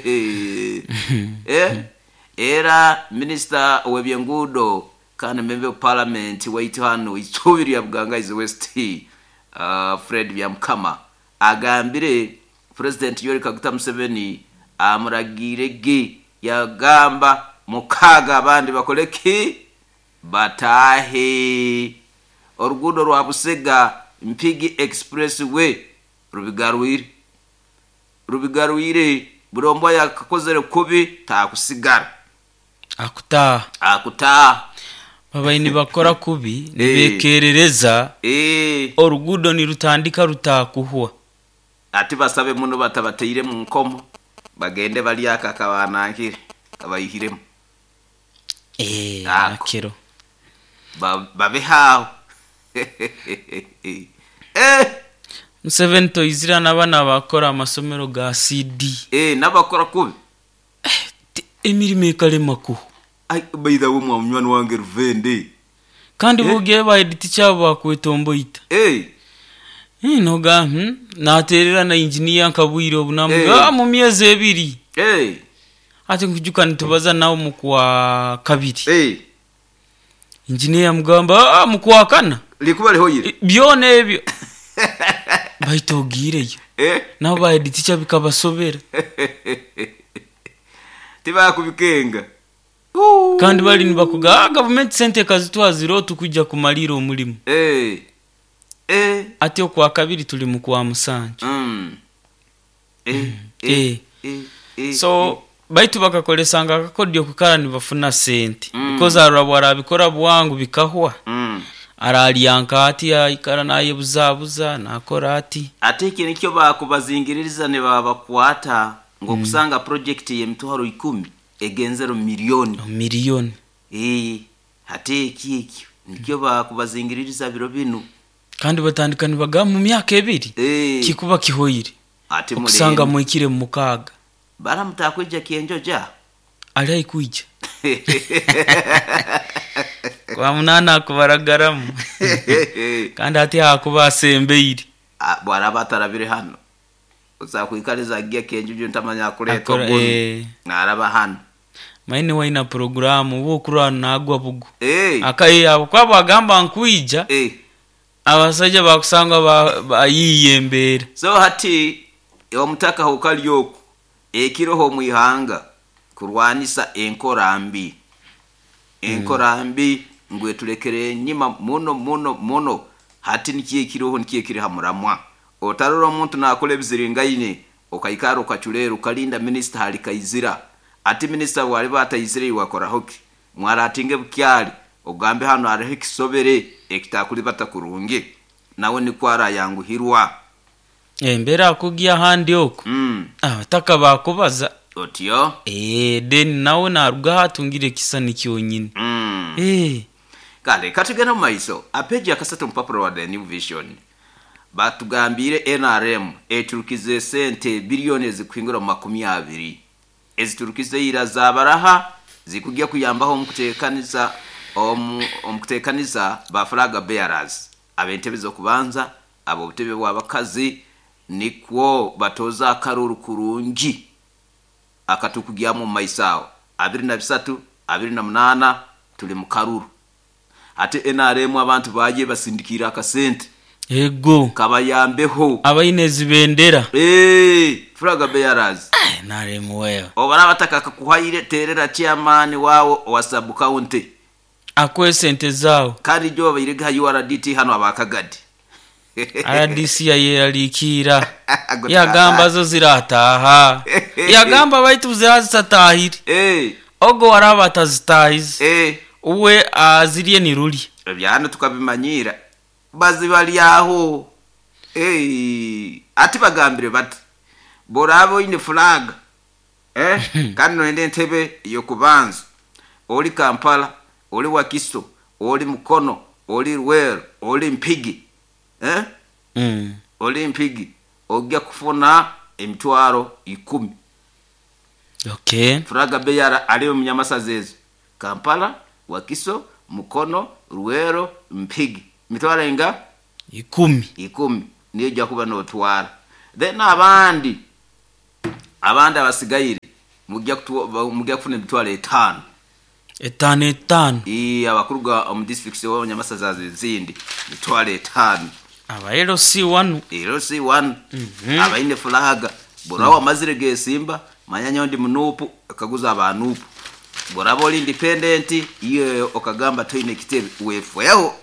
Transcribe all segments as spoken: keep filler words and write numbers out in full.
Eh, era minisita w'ebyenguudo kandi member of parliament waitu hano isubi lya Bugangaizi West, uh, Fred Byamukama agambire President Yoweri Kaguta Museveni amuragire ge yagamba mukaaga abandi bakole ki batahe. Oruguudo rwa Busega Mpigi Expressway rubigarwire rubigarwire buri ombwa yakakozere kubi takusigara. Akutaha. Akutaha. Babaye nibakora kubi nibekerereza. Eh. Oruguudo nirutandika rutakuhwa. Ati basabe muno batabateire mu nkomo bagende balyaka akabanankire kabayihiremu. Eh, Ako. Akiro. Ba- babe haho. Eh. Museveni toizira n'abana bakora amasomero ga C D. Eh, n'abakora kubi. Eh, emirimo ekalema kuho. Ai, by the way, mwa munywani wange Ruvende. Kandi Eh. bogiye ba edit cyabo bakwetomboita. Eh. Eh, noga, hmm? Naterera na engineer nkabwire obunamu. Eh. Ah, mu myezi ebiri. Eh. Ati nkujuka nitubaza nawo mu kwa kabiri. Eh. Engineer mugamba, ah, mu kwa kana. Likuba lihoyire. Eh, byona ebyo. Baitogireyo. Eh. Nabo ba edit cyabo bikabasobera. Tibakubikenga. Kandi bali nibakuga, ah, government sente kazitwazira tukujja kumalira omulimu. Eh. Eh. Ati okwa kabiri tuli mu kwa musanju. Mm. Eh. Mm. Eh. Eh. Eh. Eh. So baitu bakakolesanga akakodi okukara nibafuna sente. Mm. Because arabwa arabikora bwangu bikahwa. Mm. Aralyanka ati aikara naye buzabuza nakora ati. Ate iki nikyo bakubazingiririza ne babakwata ngo Mm. kusanga project ye mitwaro ikumi egenzero milioni. Milioni. Eh, ate iki iki nikyo bakubazingiririza biro binu. Kandi batandika nibaga mu myaka ebiri. Eh. Kikuba kihoyire. Ate okusanga mulende. mwikire mu mukaga. Baramutakwija kienjoja. Ali aikuija. Kwa munana akubaragaramu. Kandi ate akuba asembeire. Ah, bwaraba atarabire hano. Uzakwikariza agiye kienjojo ntamanya kuleta Akora, obundi. eh. Naraba hano. Maine waina programu wo kurana nagwa bugu. Eh. Akaye abo kwabo agamba nkuija. Eh. Abasajja bakusanga bayiye ba embere. So hati omutaka hokalyoku ekiroho mwihanga kurwanisa enkora mbi. Enkora mbi ngwe tulekere nyima muno muno muno. Hati nikiye kiroho nikiye kiri hamuramwa. Otarora omuntu nakora ebiziringaine okaikara okachulera ukalinda minister hali kaizira. Ati minister wali batayizire iwakora hoki. Mwaratinge bukyali ogambe hano hariho ekisobere ekitakuli batakurungi. Nawe nikwara yanguhirwa. Embera akugia handi oku. Mm. Abataka bakubaza. Otyo? Eh, then nawe naruga hatungire kisa nikyonyine. Mm. Eh. Kale katugenda mu maiso. Apeji akasatu mpapuro wa The New Vision. Batugambire N R M eturukize sente bilioni ezikuhingura mu makumi abiri. Eziturukize ira zabaraha zikujya kuyambaho omukuteekaniza omu, omukuteekaniza ba flag bearers ab'entebe z'okubanza abo obutebe bw'abakazi nikwo batoza akaruru kurungi akatukugyamu mu maiso aho abiri na bisatu abiri na munana tuli mu karuru. Ate N R M abantu baje basindikira akasente Ego. Kabayambeho. Abaine zibendera. Eh, flag bearers. Eh, N R M wewe. Obara bataka kakuhaire terera chairman wawo wa sub county. Akwe sente zao. Kandi jo bayirega U R D T hano abakagadi. R D C yayeralikira. Yagamba zo zirataha. Yagamba baitu zirazitahiri. Eh. Ogo waraba atazitahize. Eh. Uwe aziriye ni ruli. Ebyano tukabimanyira. Bazibalyaho. Eh, ati bagambire bati borabo ine flag. Eh, kandi noende entebe yo kubanza. Oli Kampala, oli Wakiso, oli Mukono, oli Luweero, oli Mpigi. Eh? Mm. Oli Mpigi ojja kufuna emitwaro ikumi. Okay. Flag beyara ali mu nyamasazi ezo. Kampala, Wakiso, Mukono, Luweero, Mpigi. Mitwaro inga? Ikumi. Ikumi. Niyo ojja kuba n'otwara. Then abandi, abandi abasigaire mujja kutu- mujja kufuna emitwalo etaano. Etaano etaano. Ii, abakuruga omu districts w'abanyamasaza ezindi mitwalo etaano. Aba L C one. L C one abaine fulaga bw'oraba wamazire gesimba manya nyowe ndi munuupu okaguza abanuupu bw'oraba oli independent iyo okagamba toine ekitebe wefweho.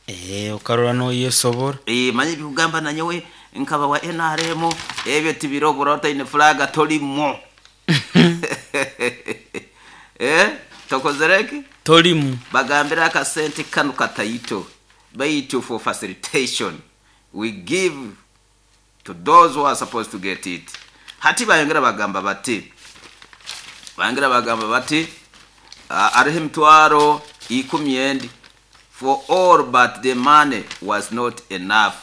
Eh, okarora noyesobora. Eh, manya ebikugamba nanyowe nkaba wa N R M ebyo tibiro bw'oraba otaine fulaga tolimu eh tokozereki. Tolimu. Bagambira akasente kano kataito baitu for facilitation we give to those who are supposed to get it. Hati bayongera bagamba bati bayongera bagamba bati uh, ariho emitwaro ikumi endi for all, but the money was not enough.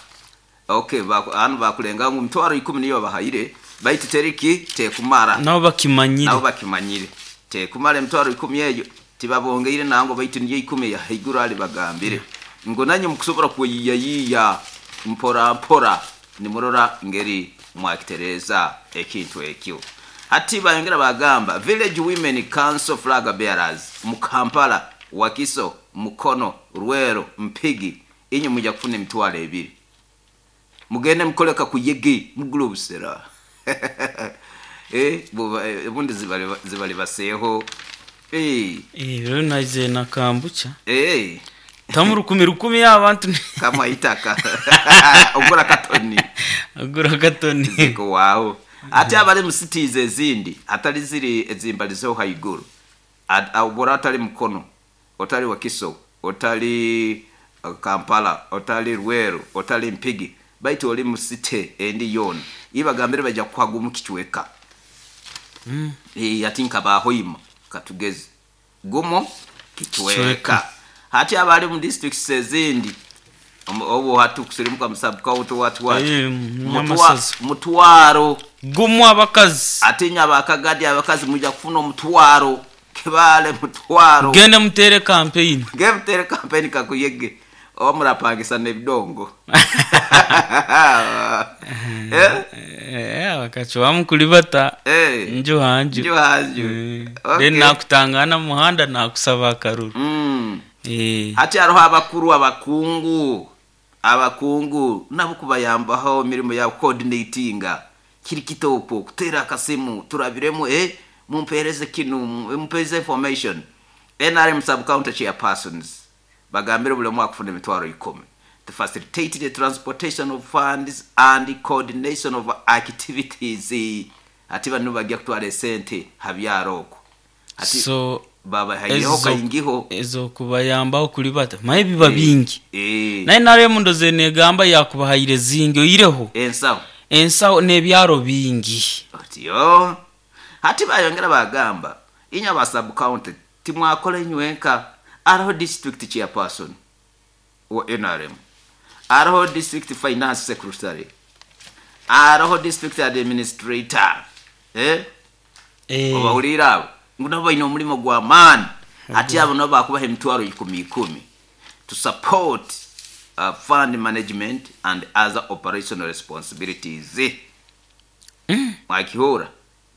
Okay, baku- hano bakulenga ngu mitwaro ikumi niyo bahaire baitu teriki tekumara. Nabo bakimanyire. Nabo bakimanyire tekumara emitwaro ikumi eyo tibabongeire nango baitu niyo ikumi yahaiguru ali bagambire ngo nanye mukusobora kweyiyayiya mpora mpora nimurora ngeri mwakitereza ekintu ekyo. Hati bayongera bagamba village women council flag bearers mu Kampala, Wakiso, Mukono, Rwero, Mpigi, inye mujja kufuna emitwalo ebiri mugende mukoleka kuyege mugule obusera. Eh, buba- eh, ubundi zibali zibali baseho eh. Eh, rero naje nakambucha Eh. tamu rukumi rukumi y'abantu. Kama itaka ogura katoni. Agura katoni. Ziko wawo ate abali mu cities ezindi atali ziri ezimbalizeho haiguru. At- obora otali Mukono, otali Wakiso, otali uh, Kampala, otali Rweru, otali Mpigi, baitu oli mu city endi yona ibagambire bajja kuhaga omu kicweka. Mm. Eh, ati nkabahoima katugeze gumo kicweka. Kicweka. Hati abali mu districts ezindi omu- obu hati kusirimuka mu sub county what what. Eh, Mutwa- Nyamasazi. Mutwaro. Gumu abakazi. Ate nye abakagadi abakazi mujja kufuna omutwaro kibale mutwaro. Gende mutere campaign. Ngemutere kampeni kakuyege oba murapangisa nebidongo. Eh? Eh, bakacubamu kulibata. Eh. Nju hanju. Nju hanju. Eh, Okay. then nakutangana mu muhanda nakusaba akaruru. Mm. Eh, hati hariho abakuru abakungu abakungu nabo kubayambaho emirimu ya coordinatinga kiri kitoko kutera akasimu turabiremu eh mumpereze kinu mumpereze information. N R M sub county chairpersons bagambire buli omu akufuna emitwaro ikumi to facilitate the transportation of funds and coordination of activities. Ati bano bajja kutwara esente habyaro okwo ati so babahaireho ezo- kaingiho. Ezo kubayambaho kulibata maye biba bingi. Eh. Naye naremu ndoze negamba yakubahaire zingi oireho ensaho. Ensaho n'ebyaro bingi. Otyo hati bayongera bagamba inya aba sub county timwakola inywenka ariho district chairperson wa N R M, ariho district finance secretary, ariho district administrator, eh? Eh, obawulire abo ngu nabo balina omulimu gw'amaani ate abo nabo bakubaha emitwaro ikumi ikumi to support uh, fund management and other operational responsibilities. Mwakihura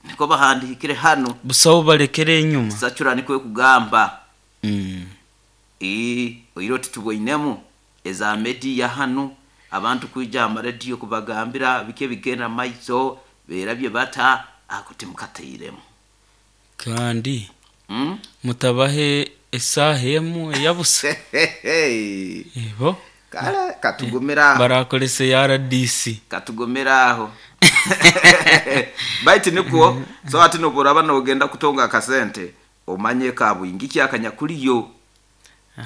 niko bahandikire hano. Busaho balekere enyuma. Sacura nikwe kugamba. Mm. Ii, oiro titubwoinemu eza media hano abantu kwija amaradiyo kubagambira bike bigenda maiso berabye bata ako timukatairemu. Kandi mm? mutabahe esaha emu eyabusa ebo. Kale katugumira aho. Barakolesa ya R D C. Katugumira aho baitu nikwo so ati noburaba nogenda kutonga akasente omanye kabwingi kyakanyakuliyo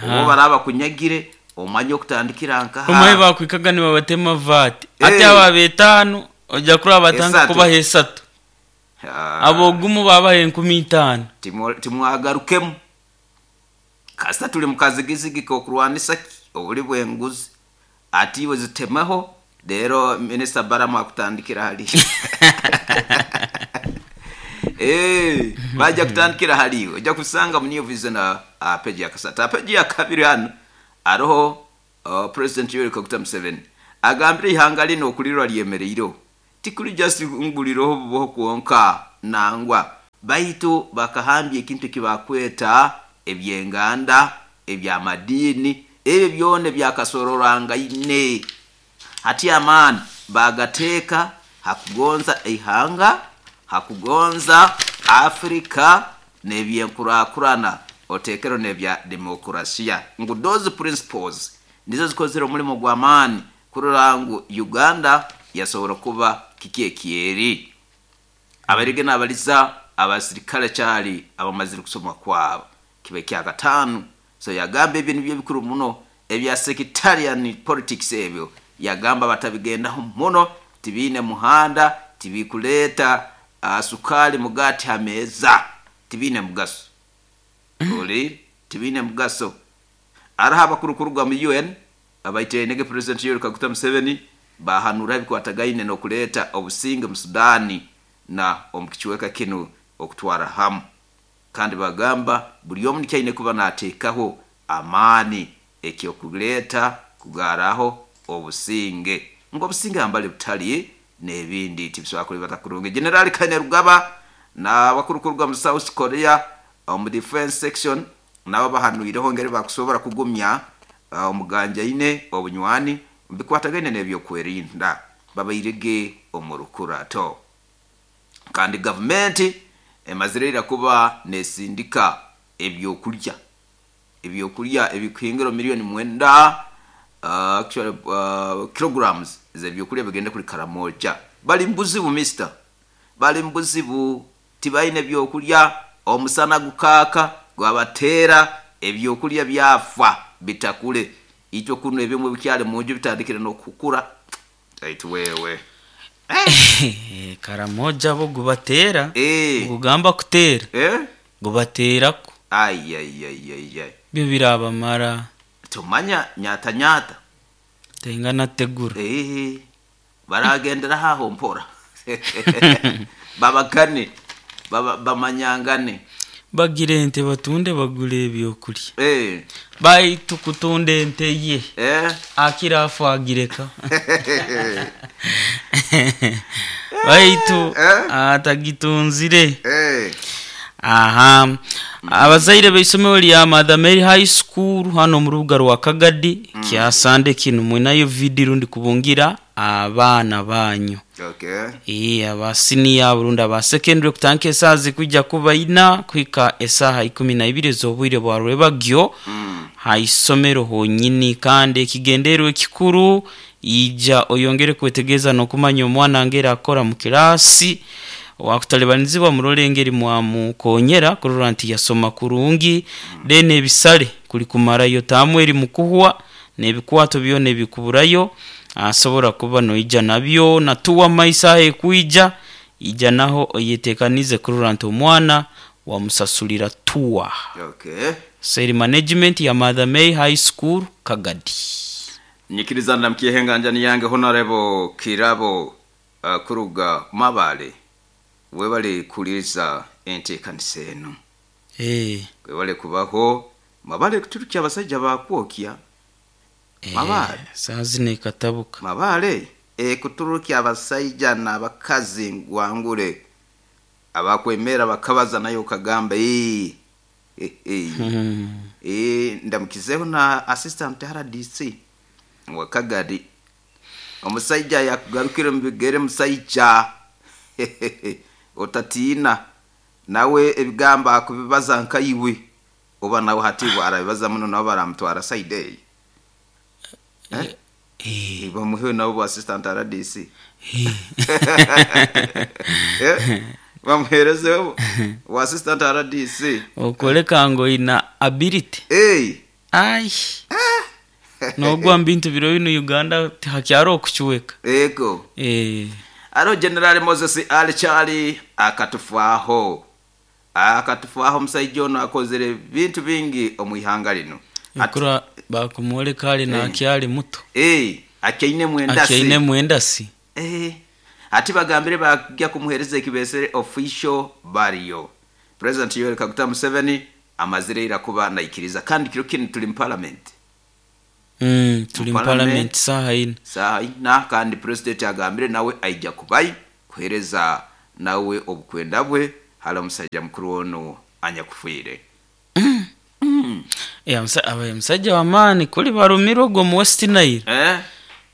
obo baraba kunyagire omanye okutandikira nkaha. Omaye bakwikaga nibabatema vati ate Eh. aba betano ojja kuraba batanga Esatu. kubaha esatu. Ah. Abogumu babaha enkumi itaano. Timu- timwagarukemu kasita tuli mukazigizigi kokurwanisa ki obuli bwenguzi ati iwe zitemeho rero minisita Baramu akutandikira hali. Eh, bajja kutandikira haliwe ojja kusanga mu New Vision uh, uh, peji ya kasatu peji ya kabiri hano ariho uh, President Yoweri Kaguta Museveni agambire ihanga lino okulirwa lyemereireho tikuli just ngulireho buboho kwonka nangwa. Baitu bakahambya ekintu ekibakweta ebyenganda, ebyamadini, ebyo byona ebyakasororwangaine. Hati amaani bagateeka hakugonza eihanga, hakugonza Afrika n'ebyenkurakurana, oteekero n'ebya demokrasiya. Ngu those principles nizo zikozere omulimo gw'amaani kurora ngu Uganda yasobora kuba kiki ekyeri. Abarige n'abaliza abasirikale kyali abamazire kusoma kwabo kibe kyakataano. So yagamba ebyo nibyo bikuru muno ebya sectarian politics, ebyo yagamba batabigendaho muno, tibiine muhanda, tibikuleeta uh, sukali mugati ha meeza, tibiine mugaso. Oli tibiine mugaso. Araho abakuru kuruga mu U N abaitenege President Yoweri Kaguta Museveni bahanura ebikwatagaine n'okuleeta obusinge mu Sudani na omu kicweka kinu okutwara hamu. Kandi bagamba buli omu nikyaine kuba nateekaho amaani ekyokuleeta kugaraho obusinge. Ngo obusinge hambali butali n'ebindi tibisobola kulibata kurungi. General Kainerugaba n'abakuru kuruga mu South Korea omu defense section nabo bahanuireho ngeri bakusobora kugumya omuganjaine obunywani bikwatagaine n'ebyokwerinda babairege omu rukurato. Kandi gavumenti emazire kuba nesindika ebyokulya ebyokulya ebikuhingiro milioni mwenda uh, actually uh, kilograms z'ebyokulya bigende kuli Karamoja. Bali mbuzibu mister, bali mbuzibu, tibaine byokulya, omusana gukaka gwabatera ebyokulya byafa bitakule. Itwe kuno ebimwe bikyali munju bitandikire n'okukura. Aitu wewe eh. Karamoja bo gubatera eh. Gugamba kutera eh? Gubaterako ai ai ai ai ai byo birabamara tumanya nyata nyata tengana tegura eh baragendera haho mpora babakane baba bamanyangane bagire ente batunde bagule ebyokulya eh baitu kutunda ente ye eh akira afu agireka baitu eh? atagitunzire eh aha. Abazaire b'isomero lya Mother Mary High School hano mu rubuga rwa Kagadi mm. kyasande kino mwinayo video rundi kubungira abaana banyu. Okay. Eh aba senior burundi aba secondary kutanka esazi kujja kuba ina kwika esaha ikumi na ibiri z'obwire bwa rwebagyo mm. haisomero honyini kandi ekigendererwa ekikuru ija oyongere kwetegeza n'okumanya omwana ngera akora mu kirasi wakutalibanizibwa murole mwamukonyera kurora nti yasoma kurungi dene ebisale kuli kumarayo tamweri mukuhwa n'ebikwato byona ebikuburayo asobora kuba noija nabyo natuwa maisa ekuija ija naho oyetekanize kurora nti omwana wamusasulira tuwa. Okay. Sales management ya Mother Mary High School Kagadi. Nyikiriza ndamkiye yange Honorable Kirabo uh, kuruga Mabale webale kuliriza enteekanisa eno. Eh. Webale kubaho Mabale kuturukya abasajja bakwokya. Eh, Mabale sazi katabuka. Mabale e kuturukya abasajja n'abakazi ngwangure abakwemera bakabaza nayo kagamba eh eh eh Hmm. eh ndamukizeho na assistant R D C wa Kagadi. Omusajja yakugarukira mu bigere musajja otatiina nawe ebigamba akubibaza nkayiwe oba nawe hati arabibaza muno nabo baramutwara side eh Eh. bamuhe nabo assistant R D C Eh. eh bamuherezeho wa assistant R D C Okoleka ngo ina ability. eh Ai. Nogwa mbintu biro bino Uganda hakyaro okuchuweka. Ego. Eh. Aro General Moses Ali Chali akatufaho. Akatufaho musajja ono akozere bintu bingi omuihanga lino. Akura bakumwoleka ali na akyali muto. Eh, akyaine mwendasi. Akyaine mwendasi. Eh. Ati bagambire bajya kumuhereza ekibesere official burial. President Yoweri Kaguta Museveni amazire ira kuba naikiriza kandi kiro kino tuli mu parliament. Mm, tuli mu Parliament. parliament saha ina. Saha ina kandi president agambire nawe aija kubayi kuhereza nawe obukwenda bwe hali omusajja mukuru ono anyakufiire. Eh, omusa- abaye musajja w'amaani kuli barumirwe ogwo mu West Nile. Eh?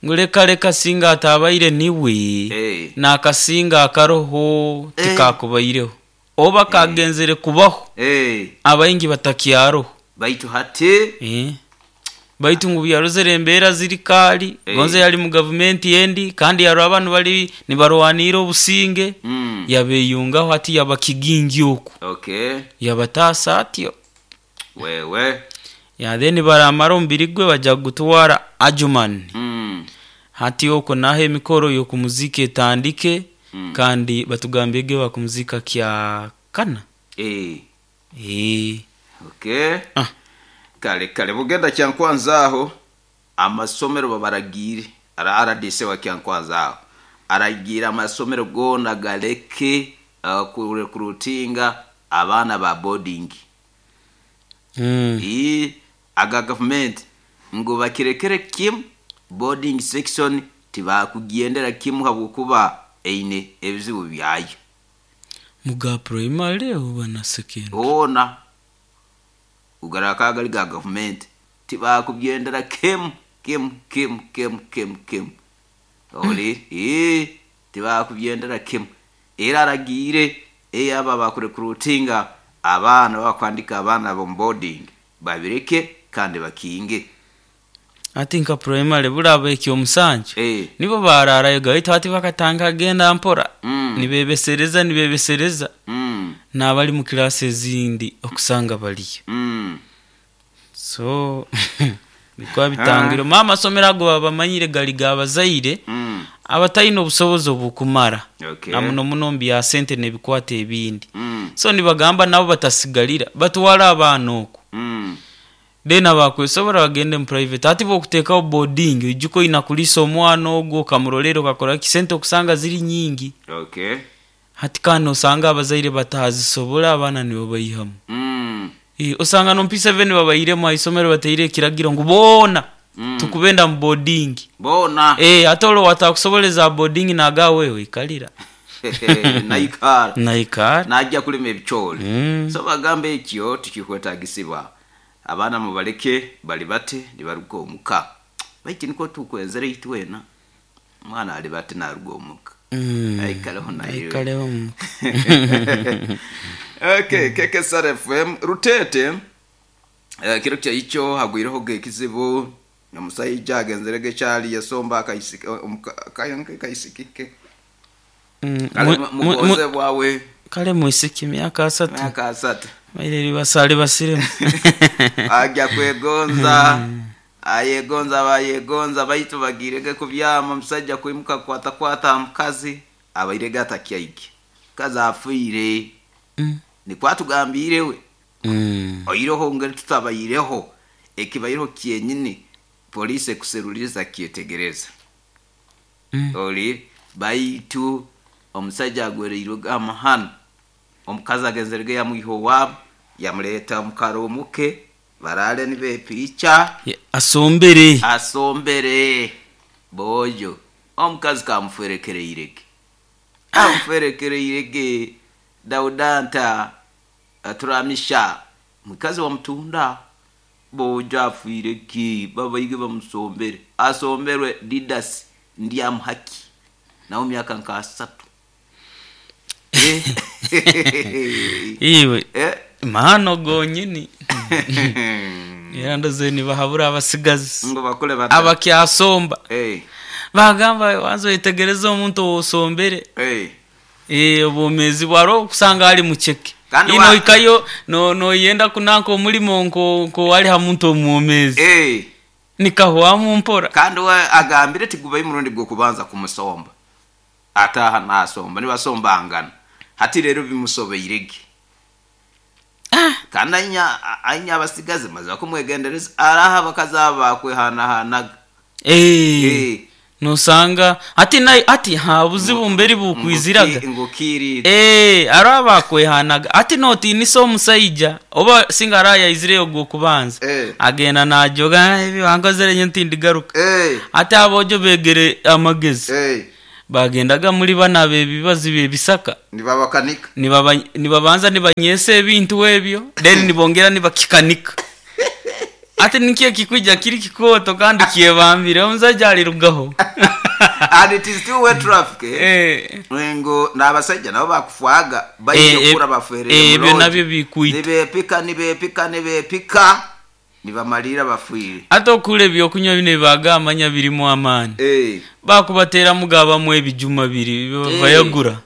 Ngu leka leka singa atabaire niwe Eh. n'akasinga akaroho Eh. tikakubaireho oba kagenzere kubaho Eh. abaingi batakyaroho. Baitu hati Eh. Baitu ngu byarozere embeera ziri kaali. Eh. Gonze yali mu gavumenti endi kandi yaro abantu bali nibarwanira obusinge. Mm. Yabeyungaho hati yaba kigingi oku. Okay. Yabataasa atyo. Wewe. Ya then baramara omubiri gwe bajja kugutwara Adjumani. Mm. Hati okwo naho emikoro y'okumuzika etandike. Mm. Kandi batugambye bakumuzika kya kana. Eh. Eh. Okay. Ah. Kale kale bugenda Kyankwanzi aho amasomero babaragire ara R D C wa Kyankwanzi aho aragira amasomero gona galeke uh, kurutinga abaana ba boarding. Mm. I aga government ngo bakirekere kim boarding section tibakugendera kimu habwokuba eine ebizibu byayo. Muga primary oba na secondary? Ona ugaraka gali ga government tibakugendera kim kim kim kim kim kim oli eh tibakugendera kim era aragire eh aba bakurekrutinga abaana bakwandika abaana bo boarding babireke kandi bakinge. Ati nka primary bulaba ekyo omusanju. Eh. Nibo bararayo gaita ati bakatanga agenda mpora. Mm. Nibebesereza nibebesereza. Mm. N'abali mu class ezindi okusanga baliyo. Mm. So bikwa bitangiro mama somera ago babamanyire gali gabazaire. Mm. Abatayina obusobozi obukumara. Okay. Na muno muno mbya sente nebikwata ebindi. Mm. So nibagamba nabo batasigalira batwala abaana okwo. Mm. Then abakwesobora bagende mu private ati bokuteekawo boarding ojjuko inakulisa omwana ogwo okamurolera okakora ki sente okusanga ziri nyingi. Okay. Hati kandi osanga abazaire batazisobola abaana nibo bayihamu. Mm. E, osanga no P seven babayiremu aisomero bateire ekiragiro ngu boona. Mm. Tukubenda mu boarding. Boona. Eh, ate olwo watakusoboleza boarding naga wewe ikalira. Naikara. Naikara. Najja kulima ebicooli. Mm. So bagamba ekyo tikikwetagisibwa. Abaana mubaleke bali bate nibaruga omuka. Baitu niko tukwenzere itwena. Mwana ali bate naruga omuka. Mm. Aikaleho nayo. Aikaleho omuka. Okay, K K S R F M Rutete. Eh, kiro kya icho hagwireho gekizibu omusajja agenzerege kyali yasomba akaisiki kayanke kaisikike. Mm, Kale mu- mu- mugoze bwawe. Kale mwisiki myaka asatu. Myaka asatu. Maire basale basiremu. Ajja kwegonza. Ayegonza bayegonza baitu bagirege kubyama omusajja kwimuka kwata kwata mukazi abairege atakyaike. Kazi afiire. Mm. Nikwatugambire we. Mm. Oiroho ngeri tutabayireho ekibayireho kyenyini polisi ekuseruliza kyetegereza. Mm. Oli baitu omusajja agwereirwe amahano omukazi agenzerege yamwiha owaabo yamuleeta omukaromuke barale nibepiica. Ye, asombere. Asombere bojo omukazi kamuferekereirege amuferekereirege Daudanta aturamisha mukazi wamutunda bojo afiirege babaige bamusombere asomberwe Didas Ndyamuhaki nawo myaka nka asatu. Iwe Eh. mahano gonyini. Era ndoze nibahabura abasigazi ngo bakole bata abakyasomba. Eh. Bagamba wanzo yetegereza omuntu osombere. Eh. Eh, obwomezi bwaro okusanga ali mucheke. Kandi Ino wa- ikayo no no yenda kunanka omulimo nko nko wali ha muntu omwomezi. Eh. Nikahwamu mpora. Kandi wa agambire tigubayi murundi gwo kubanza kumusomba. Ataha nasomba nibasombangana. Hati rero bimusobeirege. Ah. Kandi anya anya abasigazi maze bakumwegendereza araha bakazaba kwehanahanaga. Eh. Eh. Nusanga ati nayi ati ha buzibu mberi bukwiziraga. Ngukiri. Eh, araba kwehanaga ati noti niso omusajja oba singa araya izireyo gwo kubanza. Eh. Agenda najoga ebi wankozere nyo ntindigaruka. Eh. Ati abojo begere amagezi. Eh. Bagendaga muri bana bebibazi bebisaka. Nibabakanika. Nibaba nibabanza nibanyesa ebintu ebyo then nibongera nibakikanika. Ate nikiye kikuja kiri kikoto kandi kyebambire omusajja alirugaho. And it is still wet traffic eh? Eh. Ngo n'abasajja nabo bakufwaga baije Eh, kura eh, baferere eh, ebyo mu nabyo lodge. bikuita. Nibepika nibepika nibepika nibamalira bafuire. Ate okula ebyokunywa bino ebibagamanya birimu amaani. Eh. Bakubateramu gabamu ebijuma biri Eh. bayagura.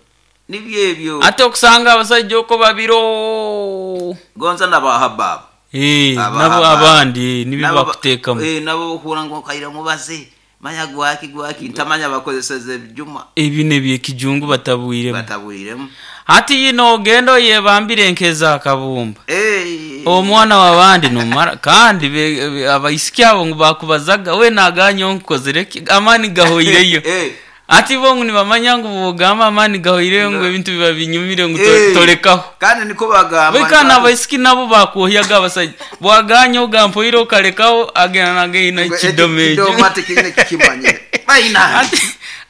Nibyo ebyo. Ate okusanga abasajja oko babiro. Gonza n'abahababa. Eh, Aba- nabo aba- abandi nibyo Nabo ba- bakuteekamu. Eh, nabo okuhura ngu okaira mubaze manya gwaki gwaki ntamanya bakozeseze ebijuma. Ebino ebyekijungu batabwiremu. Batabwiremu. Hati yino ogenda oyebambire nkeza akabumba. Eh. Omwana w'abandi nomara kandi be- be- abaisiki abo ngu bakubazaga we naganya onkozere ki amaani gahoireyo. Eh. Ati bo ngu nibamanya ngu bwogamba amaani gahoireyo ngu ebintu biba binyumire ngu to- Eh. tolekaho. Kandi niko bagamba. Bwekana abaisiki nabo bakuohyaga abasajja bwaganya ogampoire okalekaho agenda nagaina Ngo, ekidoma ekyo. ekidoma ate kiine kikimanyire. Baina. Ati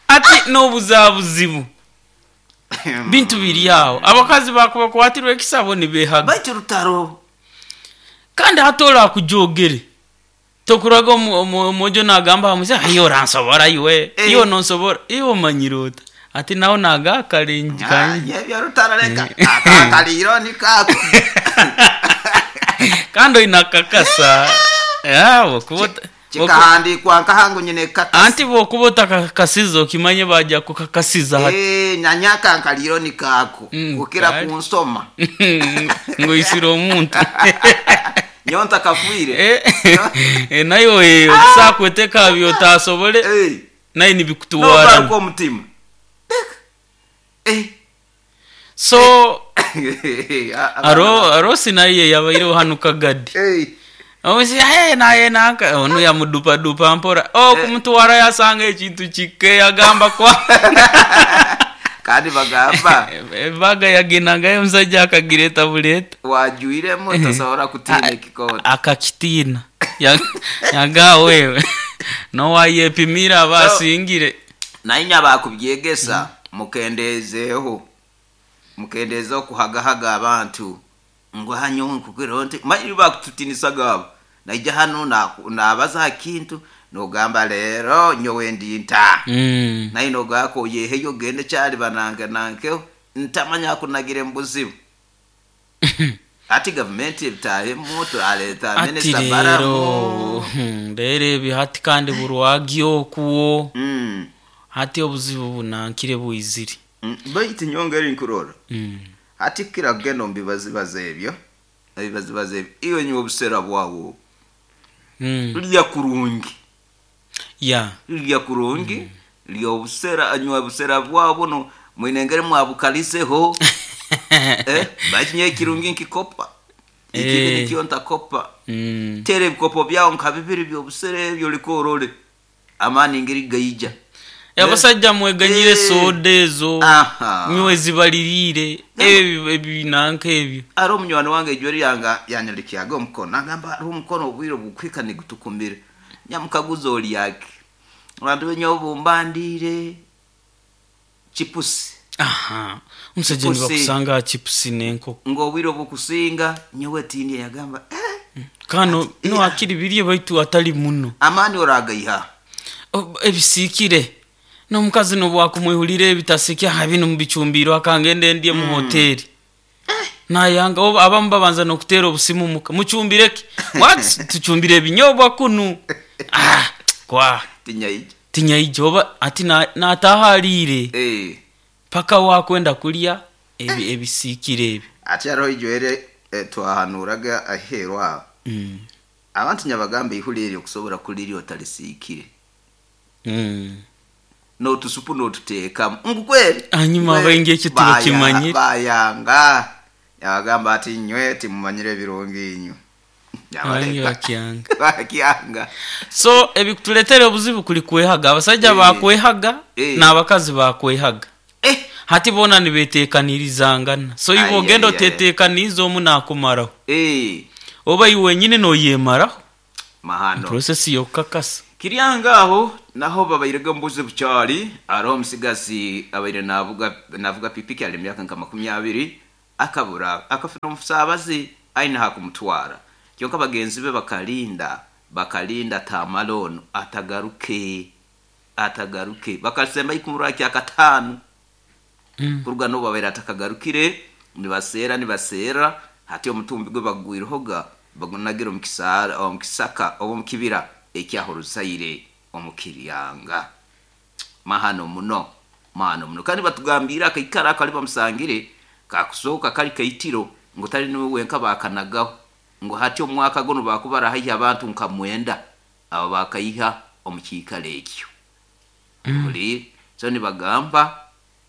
ati n'obuzabuzibu bintu biri awo abakazi bakubakwatirwa ekisabo nibehaga. Baitu rutaro. Kandi hati orakujogere tokuraga omu- omu- omwojo nagamba hamuze ayo oransobora iwe. Eh. Iwe nonsobora iwe omanyire ota ati nawe naga akarengi Ah, kanye. yebyo rutaro reka. Akakaliro nikako. Kandi oine akakasa bokuba ota- Kikahandikwa nkahangu nyine kata. Anti bokuba otakakasiza okimanye bajja kukakasiza hati. Eh, nyanyaka nkaliro nikako. Mm, Kukira kale. kunsoma. Ngoisire omuntu. Nyonta kafuire. Eh, eh, nayo okusakweteka byotasobole Eh. naye No nibikutuwara baruko omutima. Reka. Eh. So Ah, aro arosi naye yabaireho hanu kagadi. Eh. Omusi hey, naye nanka ono yamudupadupa mpora oh kumutwara yasanga ekintu kike yagamba kwa Kandi bagamba ebaga yagenangayo omusajja akagireta buleta. Wajuiremu tosobora kutiina ekikooti. Akakitiina Ya- yaga wewe nowayepimira aba asingire. Naye nyabakubyegesa mukendeezeeho mukendeeze okuhagahaga abantu ngu hanyo nkukiro nti manyi bakututinisaga abo naija hano naku- nabaza ha kintu nogamba leero nyowe ndi nta. Mm. Naye nogako oyeheyo ogende kyali banange nankeho ntamanya akunagire mu buzibu ati gavumenti ebitahemu turaleeta Ati minisita rero baramu. hmm, rero ebyo hati kandi burwagi okuwo. Mm. Hati obuzibu bunankire bwizire. Mm, baitu nyongera nkurora Mm. hati kira kugenda omu bibazibazi ebyo ebibazibazi ebyo iwe nywa obusera bwawo Mm. lya kurungi. Ya. Lya kurungi lya obusera anywa obusera bwabo no mwine engeri mwabukaliseho eh, baitu nyowe ekirungi nkikopa ekibi Eh. nikyo ntakopa. Mm. Tera ebikopo byawo nka bibiri byobusera ebyo oliko orole amaani ngeri gaija. Abasajja mweganyire Eh. soda ezo. Aha. Nywe zibaliriire ebyo ebinanka ebyo. Ari omunywani wange ejweri yanga yanyandikyaga omukono nagamba ari omukono obwire bukwika nigutukumire nyamukaguza olyaki abantu benye obumbandiire chipusi. Aha omusajja Chipusi. nibakusanga aha chipusi n'enkoko. Ng'obwire obukusinga nyowe tindye yagamba eh, Kano no akiri birye baitu atali muno. Amaani oragaiha. O- ebisiikire n'omukazi nobwakumwihulira ebitasiikire aha bino mubicumbiro akangende ndye mu hoteri nayanga oba abamu babanza n'okuteera obusimu muka mucumbireki what tucumbire ebinyobwa kunu ah kwa Tinyaija. Tinyaija oba ati na- nataha aliire Eh, paka wakwenda kulya ebi ebisiikire ebyo. Ate hariho ijwere eh, twahanuraga aheeru aho. Mm. Abantu nyabagamba ihuli eryo okusobola kulirya otalisiikire Mm. n'otusupu n'otuteekamu ngu kweri. Hanyuma Kweri. abaingi ekyo Baya- tibakimanyire. Bayanga yabagamba ati nywe timumanyire ebirungi inywe. Abaingi Yabaleka. bakyanga. Bakyanga. So ebikutuleetera obuzibu kuli kwehaga abasajja Eh. bakwehaga Eh. n'abakazi bakwehaga. Eh, Hati boona nibeteekanirizangana so iwe Ai, ogenda ai, ai, ai. oteteekaniza omu nakumaraho eh, oba iwe wenyini noyemaraho. Mahano. Process yokukakasa. Kiryanga aho. Naho babairege mbuzi bukyali aroho omusigazi abaire navuga navuga pikipiki ali emyaka nka makumi abiri akabura akafuna omusaabazi aine hakumutwara kyonka bagenzi be bakalinda bakalinda tamala ono atagaruke atagaruke bakasemba ikumurwa kya katano Mm. kuruga n'obu babaire atakagarukire nibaseera nibaseera hati omutumbi gwe bagwirehoga bagunagira omu kisaara- omu kisaka oba omu kibira ekyahoruzaire omu kiryanga. Mahano muno, mahano muno. Kandi batugambire akaikara akali bamusangire kakusooka kali kaitiro ngu tali niwe wenka bakanagaho ngu hati omwaka guno bakubara haihi abantu nka mwenda abo bakaiha omu kiikaro ekyo. Mm. Buli so nibagamba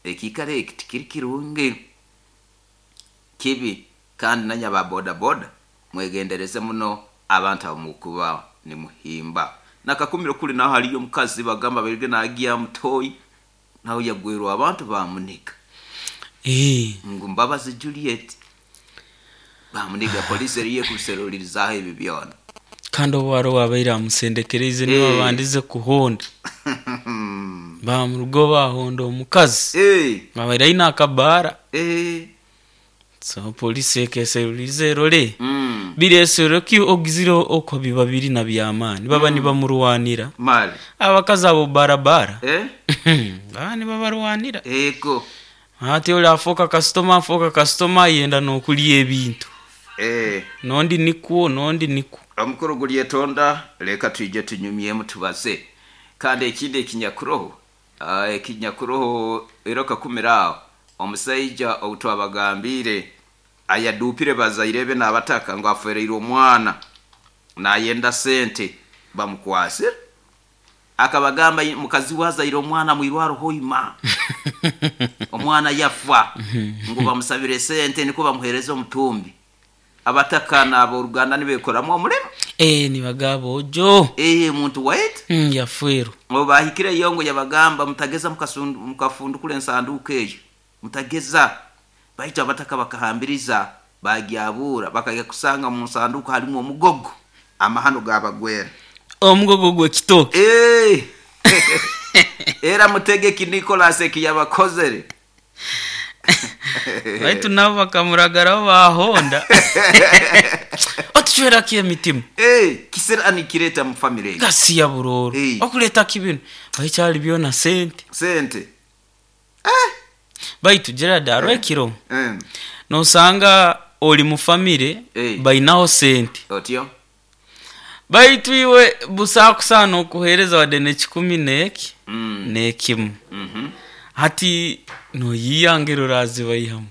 ekiikaro eki tikiri kirungi, kibi. Kandi nanye ba boda boda mwegendereze muno abantu abo mukuba nimuhimba. Nakakumiro kuli naho haliyo omukazi bagamba bairige nagiya mutoyi nawe yagwerwa abantu bamuniga. Eh. Ngu Mbabazi Juliet bamuniga, polisi eriyo kuserulirizaho ebi byona. Kandi obwaro wabaire amusendekereize niwe Eh. babandize kuhonda bamurugo bahonda omukazi Eh, babaire aine akabaara. eh. So polisi ekeserulize erole Mm. biresero ki ogizire okwo biba biri na byamaani baba nibamurwanira Mali abakazi abo barabara eh baba nibabarwanira. Ego. Ate oli afuuka kasitoma afuuka kasitoma ayenda n'okulya ebintu. Eh. Nondi nikwo nondi nikwo. Omukuru gulyetonda leka twije tunyumyemu tubaze. Kandi ekindi ekinyakuroho ah, ekinyakuroho era kakumira aho omusaija outwabagambire ayadupire bazaire be n'abataka ngu afereire omwana nayenda sente bamukwase akabagamba mukazi wazaire omwana mwirwaro hoima omwana yafa ngu bamusabire sente niko bamuhereza omutumbi. Abataka n'aboruganda nibekoramu omurimo. Eh, nibagaba ojo. Eh, muntu waitu Mm, yafweru. ngo bahikire yongo yabagamba mutageza mukasundu- mukafundukula ensanduku eyo mutageza. Baitu abataka bakahambiriza bagyabura bakajya kusanga mu nsanduku halimu omugogo amahano gabagwera. Omugogo gw'ekitooke. Eh. Era mutegeki Nicholas ekiyabakozere. Baitu nabo bakamuragaraho bahonda otucwerako emitima. Eh, kisirani kireta mu family eyo. Gasiya buroro. Eh. Okuleetako ibinu baikyali byona sente. Sente. Baitu Gerard arwekiro Mm. nosanga oli mu famire Eh. bainaho sente. Otyo. Baitu iwe busakusaana okuheereza wadde nekikumi neki Mm. nekimu. Mhm. Hati noyiyangiro orazibayihamu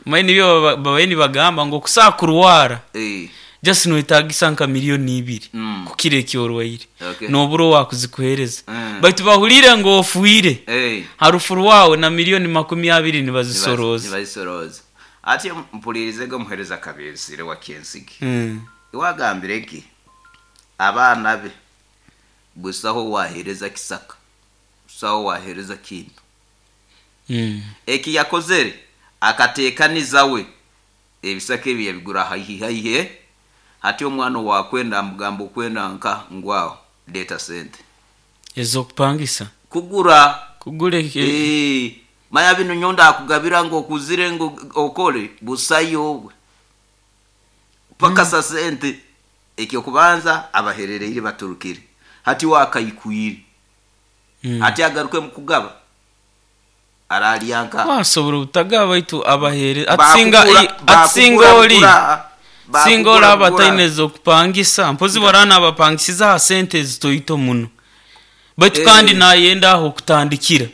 manyi nibyo baba- babaye nibagamba ngu okusaa kurwara Eh. just noetagisa nka miliyoni ibiri Mm. kukira ekyorwaire. Okay. Nobura owakuzikuhereza. Mm. Baitu bahurire ngu ofuire Eh. harufu rwawe na miliyoni makumi abiri nibazisoroza. Nibazisoroza. Ati mpulirizege omuhereza kabesire wa Kensigi. Mm. Iwagambire ki abaana be busaho wahereza kisaka busaho wahereza kintu. Mm. Eki yakozere akatekaniza we ebisaka ebi yabigura haihi haihi. Hati omwana wakwenda amugamba okwenda nka ngwaho leta sente ezokupangisa kugura. Kugura eki- Eh, maya bino nyonda akugabira ngo okuzire ngo okole busayo obwe paka sa sente. Ekyokubanza abaherereire baturukire hati wakaikwire. Mm. Hati agaruke mukugaba aralyanka. Wasobora obutagaba baitu abahere atisinga Bakugura- atisinga bakugura oli bugura, singa bakugura olaba bugura. taine ezokupangisa mpozi warana abapangisiza aha sente ezitoito muno baitu Eh. kandi nayenda aho okutandikira.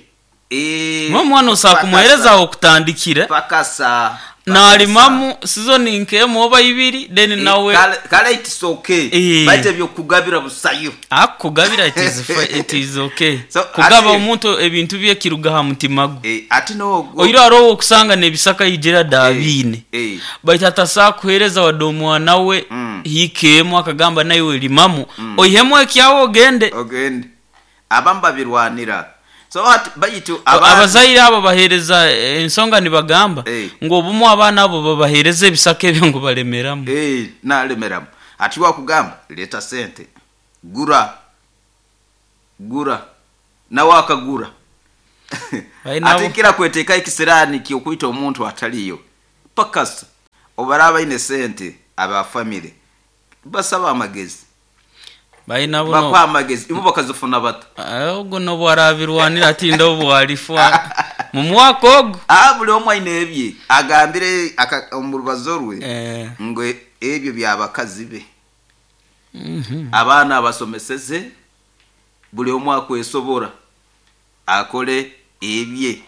Eh, Mwe omwana osaba paka kumuhereza sa- aho okutandikira paka sa nalimamu sizoni nkemu oba ibiri then Eh, nawe kale kale it's okay. Eh. Baite byokugabira busayo. Akugabira it is fi- it is okay. So, kugaba ati- omuntu ebintu bye kiruga ha mutima gwe. Eh, ati nogo Oiro arowo okusanga nebisaka yijira dabiine. eh Baitu atasaa kuhereza wadde omwana we Mm. hiikeemu akagamba nawe limamu oihemu ekyawe ogende. Ogende abamu babirwanira so ati baitu abandi- Abazaire abo bahereza ensonga nibagamba Eh. ngu obumu abaana abo babahereza ebisaka ebyo ngu balemeramu. Eh, nalemeramu ati wakugamba leta sente gura. Gura nawe akagura. Baina Ate kira kweteka ekisirani kyokwita omuntu ataliyo pakasa obaraba ine sente aba family basaba amagezi. Baina buno bakwa amagezi ibo bakazifuna bata. Ogo no bwarabirwanira atinda obwalifwa mu mwaka ogo. Ah, buli omwe aine ebye agambire omu rubazo rwe eh ngo ebyo byabakazi be. Mhm. Abaana abasomeseze buli omwe akwesobora akole ebye.